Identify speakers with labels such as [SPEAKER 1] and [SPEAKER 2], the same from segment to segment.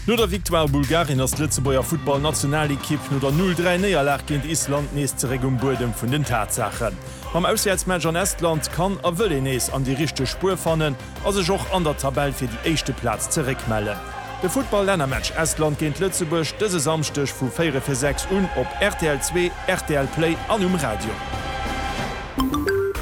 [SPEAKER 1] No der Victoire a Bulgarien ass d'Lëtzebuerger Futtball-Nationalekipp no der 0, 3 Néierlag géint Island nees zeréck um Buedem vun den Tatsaachen. Mam Auswäertsmatch an Estland kann a wëll een nees an déi richteg Spuer fannen a sech och an der Tabell fir déi éischte Plaz zeréckmellen. De Futtball-Lännermatch Estland géint Lëtzebuerg dëse Samschdeg vu 4 fir 6 un op rtl 2, rtl Play an um Radio.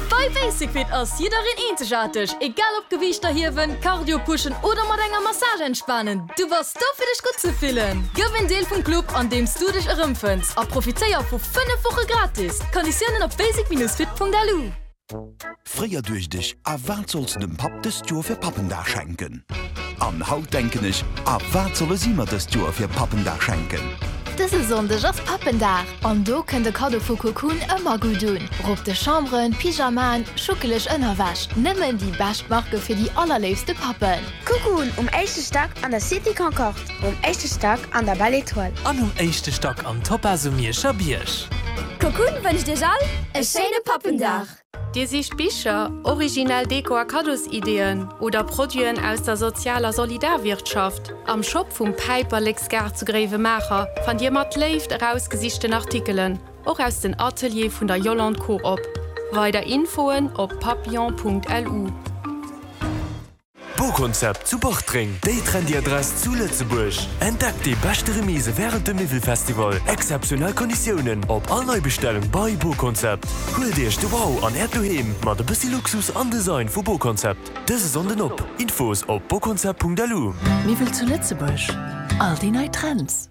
[SPEAKER 2] Bei Basic-Fit ass jiddereen eenzegaarteg, egal ob Gewiichter hiewen, Cardio pushen oder mat enger Massage entspanen, du bass do fir dech gutt ze fillen! Gëff en Deel vum Club an deems du dech erëmfënns a profitéier vu 5 Woche gratis! Konditiounen op basic-fit.lu.
[SPEAKER 3] Fréier duecht ech, A wat solls de dem Papp dëst Joer fir Pappendag schenken? An haut denken ech, A wat solle si mer dëst Joer fir Pappendag schenken?
[SPEAKER 4] Dëse Sonndeg ass Pappendag an do kënnt e Kaddo vu Cocoon ëmmer gutt un. Rob de Chambren, Pyjamaen, schuckeleg Ënnerwäsch, nëmmen déi bescht Marke fir déi allerléifste Pappen.
[SPEAKER 5] Cocoon um éischte Stack an der Cité Concorde, um éischte Stack an der Belle Etoile.
[SPEAKER 6] An um éischte Stack am Topaz um Mierscher Bierg.
[SPEAKER 5] Cocoon wënscht iech all e schéine Pappendag!
[SPEAKER 7] Dir sicht Bicher, originell Deko a Kaddosideeën oder Produiten aus der Sozial a Solidarwirtschaft? Am Shop vum Päiperleksgaart zu Gréiwemaacher fannt Dir mat Léift erausgesichten Artikelen, och aus den Ateliere vun der Yolande Coop. Weider Infoen op papillon.lu.
[SPEAKER 8] Bokonzept zu Bartreng, déi trendy Adress zu Lëtzebuerg. Entdeckt déi beschte Remise wärend dem Miwwelfestival. Exzeptionell Konditiounen op all Neibestellung bei Bokonzept. Huelt Iech de Wow an Äert Doheem mat e bëssi Luxus an Design vu Bokonzept. Dëse Sonnden op! Infos op bokonzept.lu.
[SPEAKER 9] Miwwel zu Lëtzebuerg, all déi nei Trends.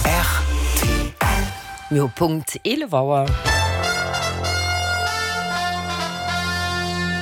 [SPEAKER 10] Rtl. Mir hu Punkt 11 Auer.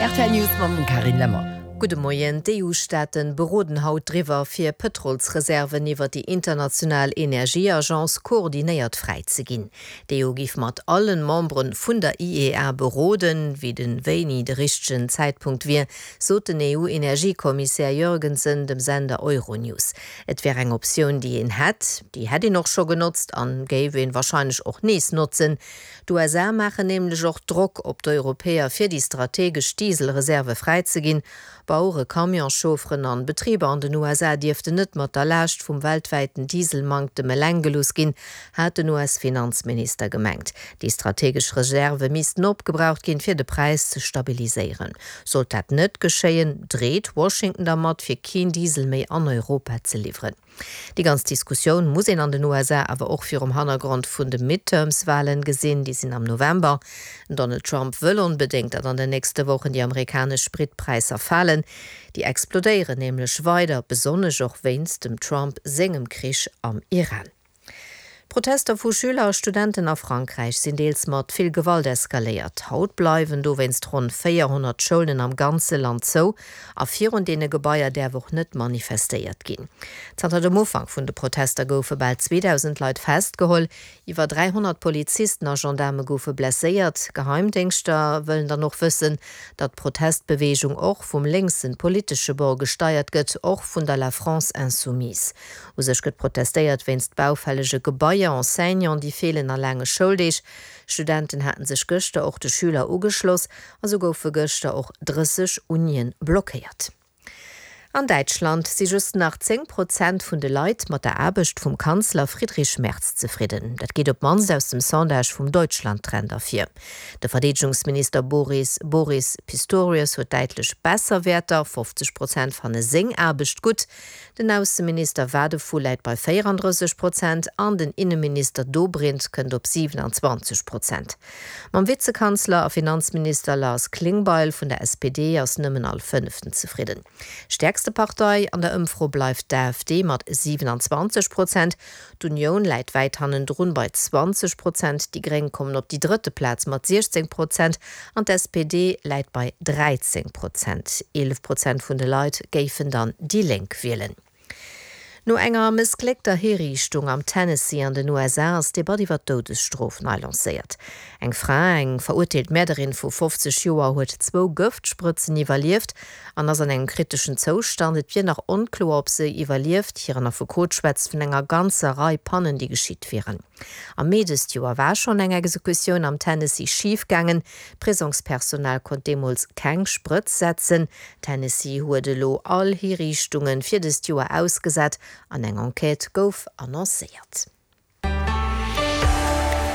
[SPEAKER 10] Rtl News mam Carine Lemmer.
[SPEAKER 11] Gudde Moien. D'EU-Staaten beroden haut driwwer, fir Pëtrolsreserven iwwer déi international Energieagence koordinéiert fräi ze ginn. D'EU giff mat allen Memberen vun der IEA beroden, wéi den wéini de richtegen Zäitpunkt wier, sot den EU-Energiekommissär Jørgensen dem Sender Euronews. Et wär eng Optioun, déi een hätt, déi hätt een och scho genotzt an géif een wahrscheinlech och nees notzen. D'USA maachen nämlech och Drock op d'Europäer fir déi strategesch Dieselreserve fräizeginn. Bauere, Camionschaufferen an Betriber an den USA dierften net mat der Laascht vum weltwäiten Dieselmanktem eleng gelooss ginn, hat den US-Finanzminister gemengt. Déi strategesch Reserve missten opgebraucht ginn, fir de Präis ze stabiliséieren. Sollt dat net geschéien, dreet Washington dermat, fir keen Diesel méi an Europa ze liwweren. Déi ganz Diskussioun muss een an den USA awer och virum Hannergrond vun de Midterms-Walen gesinn. Déi sinn am November. Den Donald Trump wëll onbedéngt, datt an den nächste Wochen déi amerikanesch Spritpräisser falen. Déi explodéieren nämlech weider, besonnesch och wéinst dem Trump sengem Krich am Iran. D'Protester vu Schüler a Studenten a Frankräich sinn deels mat vill Gewalt eskaléiert. Haut bleiwen dowéinst ronn 400 Schoulen am ganze Land zou a virun deene Gebaier däerf och net manifestéiert ginn. Zanter dem Ufank vun de Protester goufe bal 2.000 Leit festgeholl, iwwer 300 Polizisten a Gendaarme goufe blesséiert. Geheimdéngschter wëllen dann och wëssen, datt d'Protestbeweegung och vum lénksen politesche Bord gesteiert gëtt, och vun der La France Insoumise. U sech gëtt protestéiert wéinst baufällege Gebaier, Enseignanten, déi feelen a laange Schouldeeg. Studenten haten sech gëschter och de Schüler ugeschloss a sou goufe gëschter och 30 Unien blockéiert. An Däitschland si just nach 10 Prozent vun de Leit mat der Aarbecht vum Kanzler Friedrich Merz zefridden. Dat geet op d'mannst aus dem Sondage vum Deutschland-Trend ervir. De Verdeedegungsminister Boris Boris Pistorius huet däitlech besser Wäerter, 50 Prozent fanne seng Aarbecht gutt, Den Ausseminister Wadephul läit bei 34 Prozent an den Inneminister Dobrindt kënnt op 27 Prozent. Mam Vizekanzler a Finanzminister Lars Klingbeil vun der SPD ass nëmmen all Fënneften zefridden. Stäerkste Partei an der Ëmfro bleift d'AfD mat 27 Prozent. D'Unioun läit wäit hannendrun bei 20 Prozent, déi Gréng kommen op déi drëtte Plaz mat 16 Prozent an d'SPD läit bei 13 Prozent. 11 Prozent vun de Leit géifen dann déi Lénk wielen. No enger mëssgléckter Hiriichtung am Tennessee an den USA ass d'Debatt iwwer d'Doudesstrof nei lancéiert. Eng Fra, eng verurteelt Mäerderin vu 50 Joer, huet zwou Gëftsprëtzen iwwerlieft an ass an engem kriteschen Zoustand. Et wier nach onkloer, ob se iwwerlieft. Hiren Affekot schwätzt vun enger ganzer Rei Pannen, déi geschitt wieren. Am Mee dëst Joer war schonn eng Exekutioun am Tennessee schif gaangen. D'Prisongspersonal konnt deemools keng Sprëtz setzen. Tennessee huet elo all Hiriichtunge fir dëst Joer ausgesat an eng Enquête gouf annoncéiert.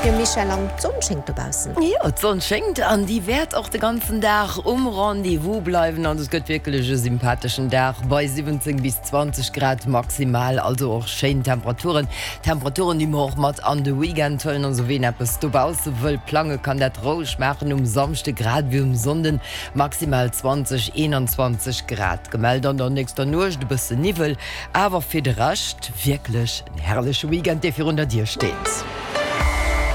[SPEAKER 11] Jo Michèle, an d'Sonn schéngt dobaussen.
[SPEAKER 10] Jo, d'Sonn schéngt an déi wäert och de ganzen Dag um Rendez-vous bleiwen. Also et gëtt wierklech e sympatheschen Dag bei 17 bis 20 Grad maximal, also och schéin Temperaturen. Temperaturen, déi mer och mat an de Weekend huelen. Also ween eppes dobausse wëll plange kann dat roueg maachen um Samschde grad ewéi um Sonnden. Maximal 20, 21 Grad gemellt an der nächster Nuecht, e bësse Niwwel, awer fir de Rescht wierklech en herrleche Weekend, dee virun der Dier steet.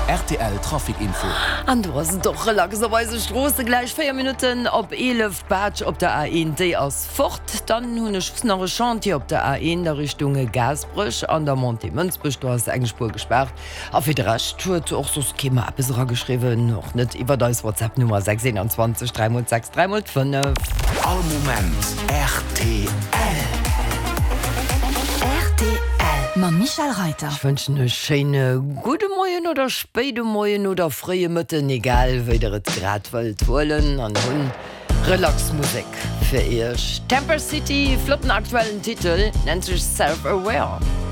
[SPEAKER 3] Rtl Trafic Info.
[SPEAKER 10] An do ass et och relax op eise Stroosse. Gläich 4 Minutten op 11, d'Baatsch op der A1, déi ass fort. Dann hunn ech just nach e Chantier op der A1 a Richtung Gaasperech an der Montée Mënsbech, do ass eng Spuer gespaart. A fir de Rescht huet och soss kee mer eppes erageschriwwen, och net iwwert eis WhatsApp Nummer 6 21 3 mol 6 3 mol 5.
[SPEAKER 3] All Moment rtl.
[SPEAKER 9] Rtl mam Michèle Reiter.
[SPEAKER 10] Ech wënschen e schéine gudde Moien oder spéide Moien oder fréie Mëtten, egal wéi der et grad wëllt huelen an hunn Relax Musek fir iech. Temper City, flotten aktuellen Titel, nennt sech Self Aware.